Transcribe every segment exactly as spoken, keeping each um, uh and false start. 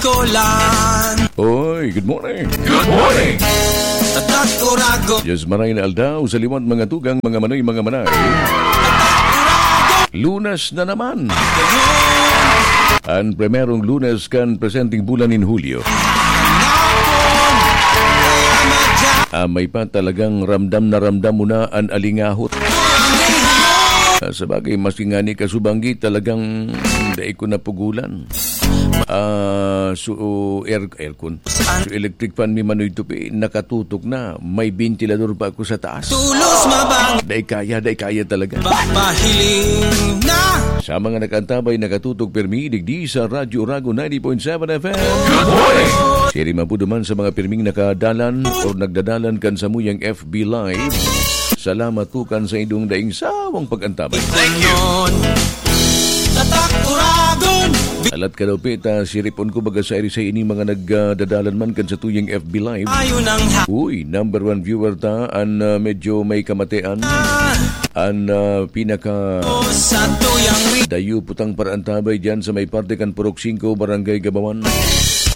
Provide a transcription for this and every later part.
Kolan. Oy, good morning. Good morning. Tatak Oragon. Diyos maray na aldaw sa liwat mga tugang, mga manoy, mga manay. Lunes na naman. An primerong Lunes kan presenteng bulan nin Hulyo. Ah, may pa talagang ramdam na ramdam mo na an alingahot. Ah, sabagay, maski ngani kasubanggi, talagang dai ko napugulan. Ah, so, air-, aircon. So, electric fan mi manoy tupi, nakatutok na. May ventilador pa ako sa taas. Tulos mabang. Dai kaya, dai kaya talaga. Papahiling na. Sa mga nakaantabay, nakatutok pirmi, digdi sa Radyo Oragon ninety point seven F M. Good morning! Siring man po duman sa mga pirming nakadalan or nagdadalan kan samuyang F B Live. Salamat po kan sa indong daing sawang pag-antabay. Thank you. Tatak Oragon. Alat ka daw, Peta, siripon ko baga sa iri sa ini mga nagdadalan man kan sa tuyang F B Live. Ayon ang ha- Uy, number one viewer ta, an, ah, medyo may kamatean. An, ah, pinaka sa tuyang ri- dayo putang paraantabay dyan sa may parte kan Purok singko, Barangay Gabawan.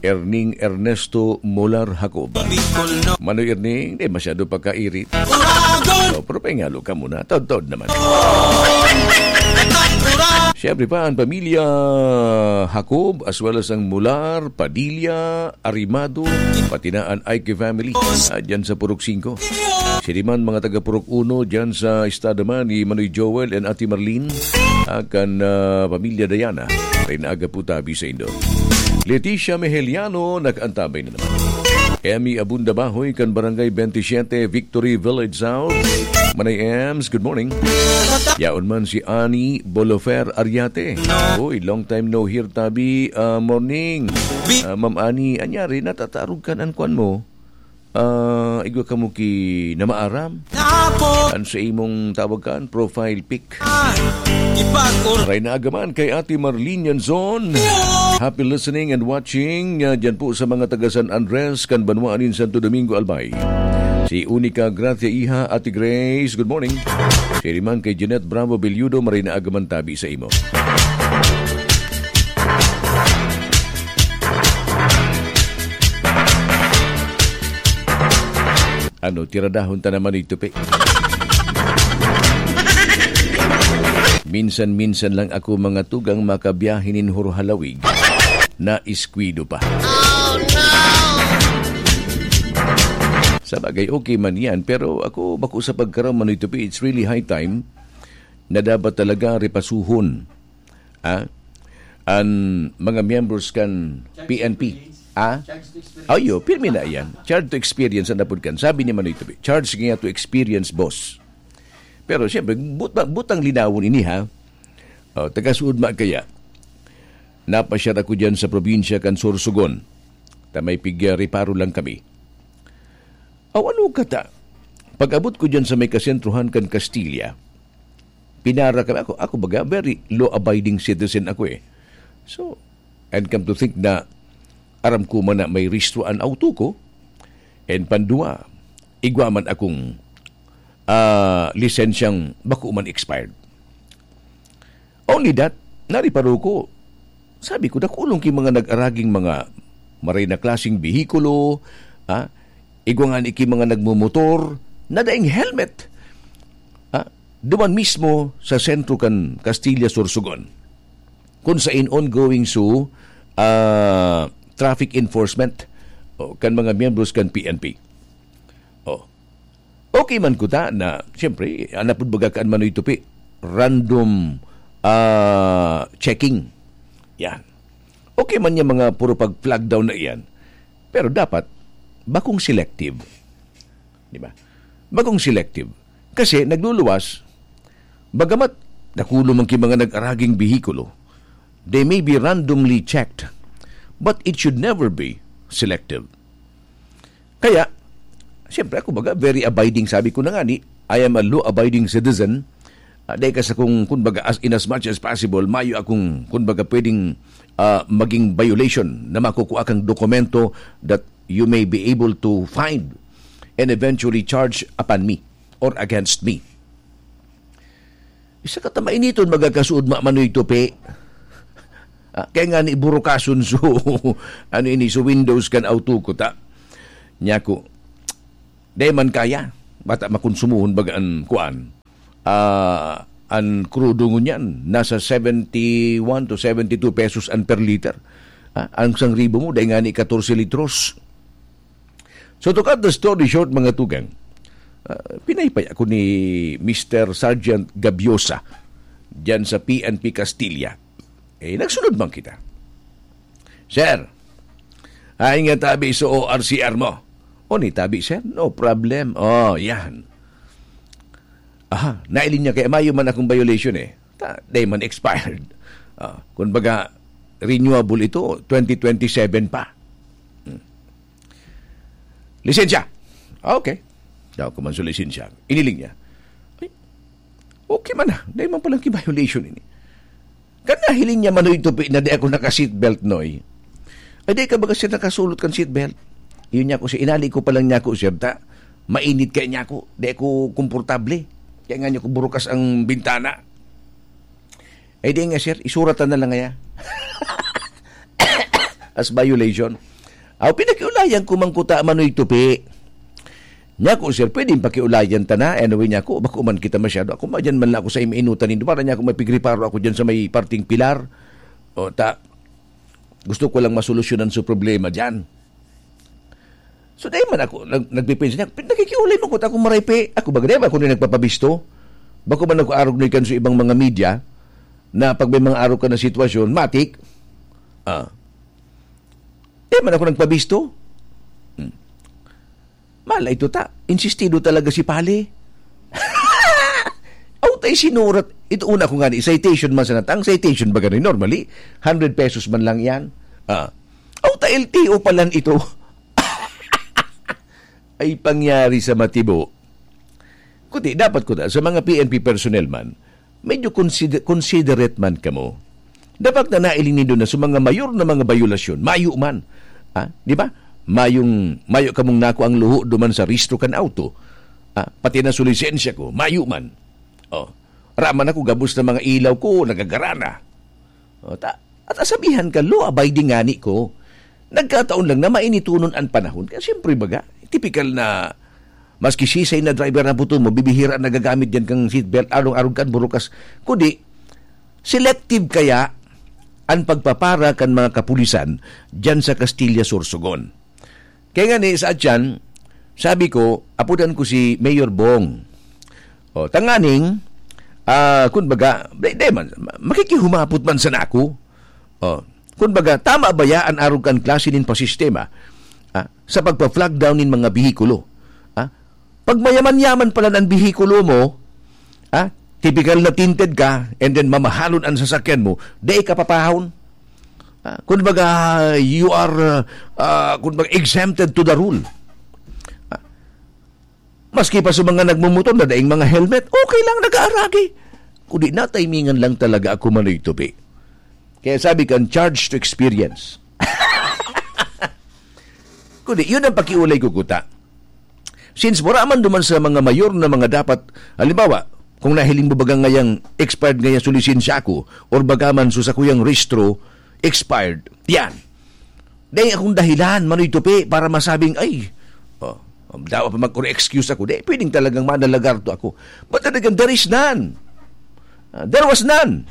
Erning Ernesto Molar Jacob. Bicol, no? Manoy Erning, di masyado pagkairit. Oragon! Oh, pero pahingalo ka muna. Taod-taod naman. Tatak Oragon. Siyempre pa, ang pamilya Jacob, as well as ang Molar, Padilla, Arimado, pati na an Aiki family, ah, dyan sa Purok singko. Siring man mga taga Purok uno, dyan sa estado man ni Manoy Joel and Ate Marlene, ah, kan, ah, pamilya Diana. Rin aga po tabi sa indo. Leticia Mejeliano, nakaantabay na naman. Emmy Abunda Bahoy, kan Barangay twenty-seven, Victory Village South. Manay Ems, good morning. Yaon man si Ani Bolofer Ariate. Uy, long time no hear, tabi. Ah, morning. Ah, Ma'am Ani, anyari, natatarog kan an kwan mo? Ah, igwa kamo ki na maaram? An sa imong tawag kan profile pic. Ipag-or- Ray na agaman kay Ate Marlene Yanzon. Happy listening and watching, ah, dyan po sa mga taga San Andres, kan banwaan nin Santo Domingo, Albay. Si Unica Gracia Iha, Ate Grace, good morning. Siring man kay Jeanette Bravo Belludo, maray na agaman tabi sa imo. Ano, tiradahon ta naman ito, pe. Minsan-minsan lang ako mga tugang makabiyahe nin Hurhalawig na iskwido pa. Sa bagay, okay man yan, pero ako bako sa pagkaram, ano ito, pe, it's really high time na dapat talaga repasuhon, ah, an mga miyembros kan P N P. Ah? Ayo, pirmi na yan. Charge to experience ang napod kan. Sabi ni Manoy Tubi, "Charge niya to experience, boss." Pero siyempre, buta-, butang linawon ini, ha? Oh, taga-Suud man kaya. Napasyar ako diyan sa probinsya kan Sorsogon. Ta may pig-, ah, reparo lang kami. Aw, ano ka ta? Pag-abot ko diyan sa may kasentrohan kan Castilla, pinara kami. Ako, ako baga, very law-abiding citizen ako eh. So, and come to think na aram ko man na may rehistro an auto ko, and pandua, igwa man akong, ah, lisensyang bako man expired. Only that, nariparo ko, sabi ko, dakulong ki mga nag-araging mga maray na klaseng behikulo, ha? Igwa ngani ki mga nagmomotor na daing helmet. Ha? Duman mismo sa sentro kan Castilla, Sorsogon, kun sain ongoing so, ah, traffic enforcement, o, kan mga miyembros kan P N P. Oh. Okay man kuta na, siyempre, anapod baga kan Manoy Tupi, random, ah, checking. Yan. Okay man yung mga puro pag-flag down na iyan. Pero dapat, bakong selective. Di ba? Bakong selective. Kasi nagluluwas, bagamat dakulo man ki mga nag-araging behikulo, they may be randomly checked, but it should never be selective. Kaya, siyempre, ako baga, very abiding, sabi ko na nga ni, I am a law-abiding citizen. Ah, dahil ka sa kung, kumbaga, as, in as much as possible, mayo akong, kumbaga, pwedeng, ah, maging violation na makukuha kang dokumento that you may be able to find and eventually charge upon me or against me. Isa ka ta mainiton, magkakasuod, ma-, Manoy Tupi. Ah, kaya nga ni burukason so, ano ini, so windows kan auto ko ta. Nya ko, dai man kaya. Bata makonsumohon baga an kuan. Ah, an krudo ngunyan, nasa seventy one to seventy two pesos an per liter. Ah, ang isang ribo mo, dai nga ni katorse litros. So, to cut the story short, mga tugang, ah, pinaypay ako ni Mister Sergeant Gabiosa diyan sa P N P Castilla. Eh, nagsunod man kita. "Sir, ay nga tabi sa O R C R mo." "O, ni tabi, sir? No problem." "Oh, yan." "Aha, nailing niya kaya mayo man akong violation eh. Ta, day man expired." Ah, kumbaga, renewable ito, twenty twenty-seven pa. Hmm. "Lisensya." "Ah, okay." Daw ko man sa lisensya. Iniling niya. "Ay, okay man na. Dahil man palang ki-violation ini." Kan nahiling niya, Manoy Tupi, na di ako naka-seatbelt, Noy. "Ay, di ka baga, sir, nakasulot kan seatbelt?" Yun niya ko, sir, inali ko palang niya ako, sir, ta mainit kaya niya ako. Di ako komportable. Kaya nga niya ko burukas ang bintana. "Ay, di nga, sir, isuratan na lang kaya." As violation. Aw, pinakiulayan ko man kuta, Manoy Tupi. Niya ko, "Sir, pwedeng pakiulayan ta na?" Anyway, niya ko, "Bako man kita masyado. Ako, madyan man lang ako sa imainutan nindo. Para niya ako mapigriparo ako dyan sa may parting pilar. O, ta, gusto ko lang masolusyonan sa problema dyan." So, dahil man ako, nag, nagpipinsa niya, "Nakikiulay man kuta akong maraypi. Ako ba, ganyan ba ako na nagpapabisto? Bako man ako arog na ikan sa ibang mga media na pag may mga arog ka na sitwasyon, matik." Ah. Di man ako nagpabisto. Hmm. Mala ito ta. Insistido talaga si Pali. Aw, tay sinurat. Ito una ko nga ni, citation man sa natang. Citation ba ganun? Normally, hundred pesos man lang yan. Ah. Aw, ta L T O palan ito. Ay pangyari sa matibo. Kundi, dapat ko ta, sa mga P N P personnel man, medyo consider-, considerate man kamo. Dapat na nailing nindo na sa mga mayor na mga bayolasyon, mayo man. Ha? Di ba? Mayong, mayo kamong nako ang luho duman sa rehistro kan auto. Ha? Pati na sa lisensya ko, mayo man. Oh. Raman ako, gabos na mga ilaw ko, nagagarana. Oh, ta-, at asabihan ka, law-abiding ngani ko. Nagkataon lang na mainitonon an panahon. Kaya siyempre, baga, tipikal na, maski sisay na driver na puto mo, bibihira nagagamit yan kang seatbelt, arong-arog kan burukas. Kundi, selective kaya an pagpapara kan mga kapulisan dyan sa Castilla, Sorsogon. Kaya nga ni, sa atyan, sabi ko, apudan ko si Mayor Bong. O, tanganing, ah, kun baga, di, di man, ma-, makikihumapot man sana ako. O, kun baga, tama ba ya an arog kan klase nin pasistema, ah, sa pagpa-flag down nin mga bihikulo? Ah, pag mayaman-yaman pala an bihikulo mo, ah, tipikal na tinted ka, and then mamahalon an sasakyan mo, di ka papahon. Ah, kun baga, you are, ah, ah, kun baga, exempted to the rule. Ah, maski pa sa mga nagmumotor na daing mga helmet, okay lang, nag-aaragi. Kundi natimingan lang talaga ako, Manoy Tupi. Kaya sabi kan, charge to experience. Kundi, yun ang pakiulay ko, kuta. Since wala man duman sa mga mayor na mga dapat, halimbawa, kung nahiling mo baga ngayang expired ngaya sa lisensya ko, or baga man sa sakuyang rehistro, expired. Yan. Dahil akong dahilan, Manoy Tupi, para masabing, "Ay, oh, dapat pa mag-excuse ako." Di, pwedeng talagang manalagarto ako. But then again, there is none. Ah, there was none.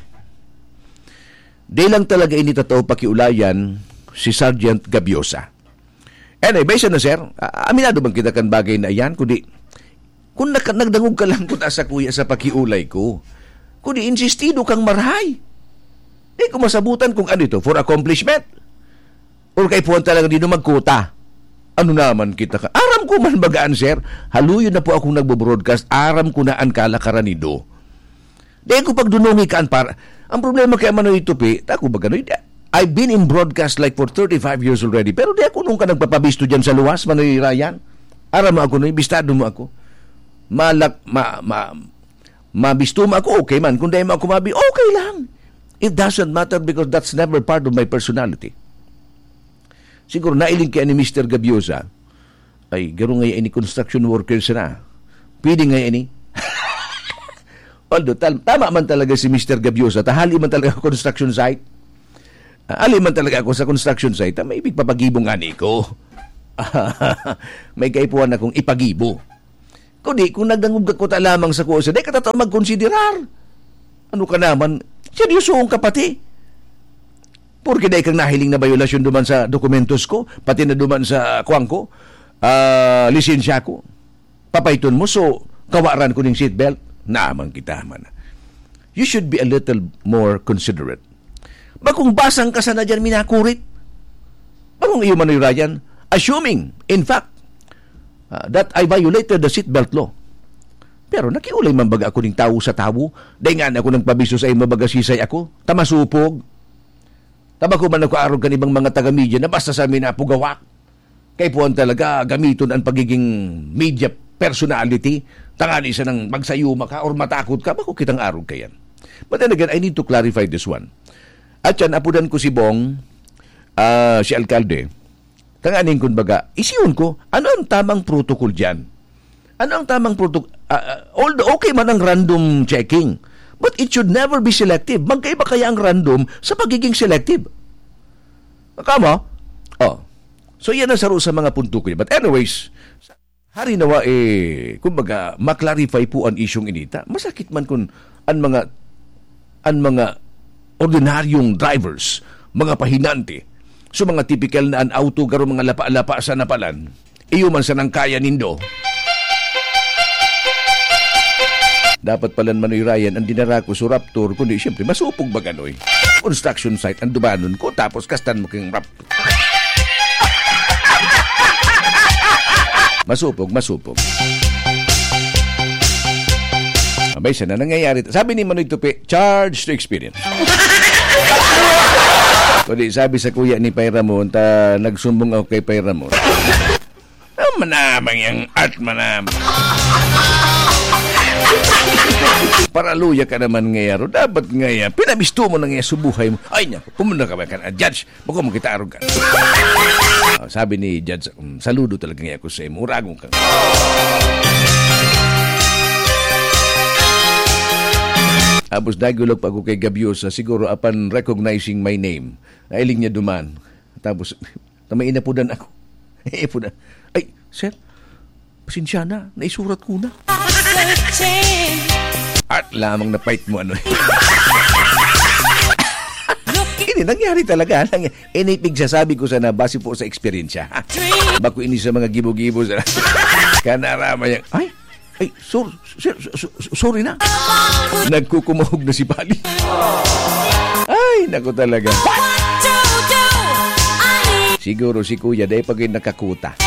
Di lang talaga ini tataw pakiulayan si Sergeant Gabiosa. Anyway, siya na, sir. Ah, aminado bang kita kan bagay na iyan? Kundi, kung naka-, nagdangog ka lang kuta sa kuya sa pakiulay ko, kundi insistido kang marahay. Di ko masabutan kung ano ito, for accomplishment? Or kay puwan talaga dito magkuta? Ano naman kita ka? Aram ko man bagaan, sir. Haluyon na po akong nagbo-broadcast. Aram ko na ang kalakaran nido. Di ko pagdunungi kan par-, ang problema kaya, Manoy Tupi, ta ako ba ganoy? Di, I've been in broadcast, like, for thirty-five years already, pero di ako nung ka nagpapabisto dyan sa luwas, Manoy Ryan. Aram mo ako, Noy, bistado mo ako. Malak-, ma-, ma-, mabisto mo ako, okay man. Kung di mo ako mabi, okay lang. It doesn't matter because that's never part of my personality. Siguro nailing kaya ni Mister Gabiosa, ay, garo nga ini construction workers na. Pwede nga ini. Although, tal-, tama man talaga si Mister Gabiosa, tahali man talaga construction site. Ah, ali man talaga ako sa construction site, ah, may ipagpapagibo ngani ko. May kaipuhan akong ipagibo. Kundi kung nagdangog ako ta lamang sa kusa, dai ka tatao magkonsiderar. Ano ka naman? Seryosohon ka pati. Porke dai kang nahiling na bayolasyon duman sa dokumentos ko, pati na duman sa, kuwan ko, ah, lisensya ko. Papaiton mo, so, kawaran ko ning seatbelt? Naman kita man. You should be a little more considerate. Bakong basang ka sana dyan, minakurit. Bakong iyo, Manoy Ryan, assuming, in fact, ah, that I violated the seatbelt law. Pero nakiulay man baga ako ning tawo sa tawo? Dai nga ako nagpabisyo sa imo, baga sisay ako? Ta masupog. Ta bako man ako arog kan ibang mga taga-media na basta sa amin napugawak. Kaipuhan talaga gamiton ang pagiging media personality, tangani sanang magsayuma ka or matakot ka, bako kitang arog kayan. But then again, I need to clarify this one. At yan, apodan ko si Bong, ah, si Alkalde. Tanganing kun baga, isiyon ko, ano ang tamang protocol dyan? Ano ang tamang protocol? Ah, ah, although okay man ang random checking, but it should never be selective. Magkaiba kaya ang random sa pagiging selective? Kamo? Oh. So, yan ang saro sa mga punto ko. But anyways, hari nawa, eh, kumbaga, maklarify po ang isyong inita. Masakit man kun ang mga, ang mga ordinaryong drivers, mga pahinante, so mga tipikal na an auto, garo mga lapa-lapa sa napalan, iyo man sanang kaya nindo. Dapat palan, Manoy Ryan, ang dinara ko sa Raptor, kundi siyempre, masupog ba ganoy? Construction site ang dumanon ko, tapos kastan mo kang Raptor. Masupog, masupog. Abay, siya na nangyayari. Sabi ni Manoy Tupi, "Charge to experience." Kundi sabi sa kuya ni Pay Ramon, ta nagsumbong ako kay Pay Ramon. Ah, manamang yang at manamang. Paraluya ka naman ngayaro. Dapat ngaya, pinabisto mo na ngaya sa buhay mo. Ay, niya, pumunta ka ba ka na, judge? Bako mo kita arugan. Ah, sabi ni Judge, "Um, saludo talaga ngaya ako sa imo. Uragon ka." Tapos nagulog pa ako kay Gabiosa, siguro apan recognizing my name. Nailing niya duman. Tapos, na may inapudan ako. Inapudan. "Ay, sir, pasensya na, naisurat ko na." At lamang na fight mo, ano. Ini nangyari talaga. Nangy-, ini pigsasabi ko sana base po sa eksperyensya. Bako ini sa mga gibo-gibo sa kanarama niya. Ay, ay, sir, sir, su-, su-, sorry na. Nagkukumahog na si Pali. Ay, naku talaga. Siguro si Kuya, dahil pag nakakuta.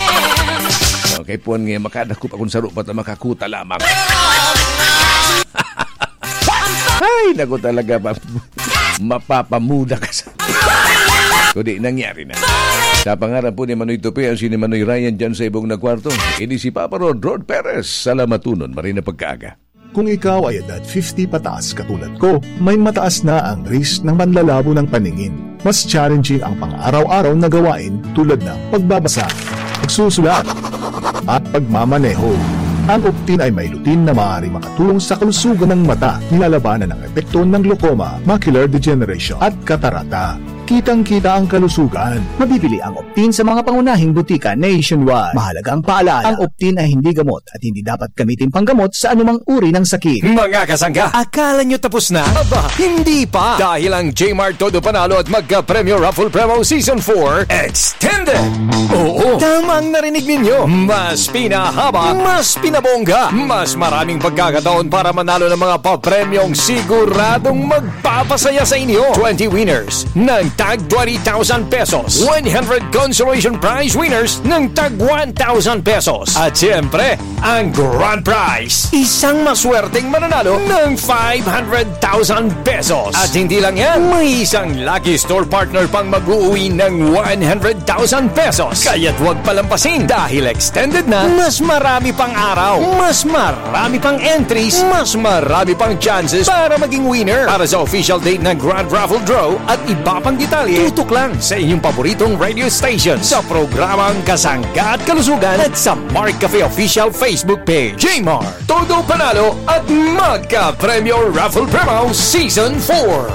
Okay, puwan nga, makadakop akong saro pa ta makakuta lamang. Ay, naku talaga, ma-, mapapamuda ka sa Kundi nangyari na. Sa pangaran po ni Manoy Tupi, ang si ni Manoy Ryan dyan sa ibong na kwarto. Ini si Papa Rod, Rod Perez. Salamatunon, maray na pagkaaga. Kung ikaw ay edad fifty pataas katulad ko, may mataas na ang risk ng panlalabo ng paningin. Mas challenging ang pang-araw-araw na gawain tulad ng pagbabasa, pagsusulat, at pagmamaneho. Ang Optin ay may lutein na maaari makatulong sa kalusugan ng mata, nilalabanan ang epekto ng glaucoma, macular degeneration, at katarata. Kitang-kita ang kalusugan. Mabibili ang Optin sa mga pangunahing butika nationwide. Mahalagang paalala, ang Optin ay hindi gamot at hindi dapat gamitin panggamot sa anumang uri ng sakit. Mga kasangga, akala nyo tapos na? Aba, hindi pa! Dahil ang J-Mart Todo Panalo at Magka Premyo Raffle Promo Season four Extended! Oo, tamang narinig ninyo! Mas pinahaba, mas pinabongga, mas maraming pagkakataon para manalo ng mga papremyong siguradong magpapasaya sa inyo. Twenty winners ng tag twenty thousand pesos. One hundred consolation prize winners ng tag one thousand pesos. At siyempre, ang grand prize, isang maswerteng mananalo ng five hundred thousand pesos. At hindi lang yan, may isang lucky store partner pang mag-uuwi ng one hundred thousand pesos. Kaya't huwag palampasin dahil extended na, mas marami pang araw, mas marami pang entries, mas marami pang chances para maging winner. Para sa official date ng Grand Raffle Draw at iba pang detalye, tutok lang sa inyong paboritong radio station sa programang Kasangga at Kalusugan at sa Mark Cafe Official Facebook Page. J-Mart, Todo Panalo at Magka Premyo Raffle Promo Season four.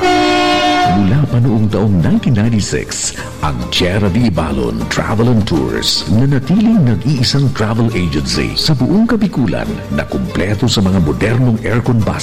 Mula Pa noong taong nineteen ninety-six, ang Tierra de Ibalon Travel and Tours nanatiling nag-iisang travel agency sa buong Kabikulan na kumpleto sa mga modernong aircon bus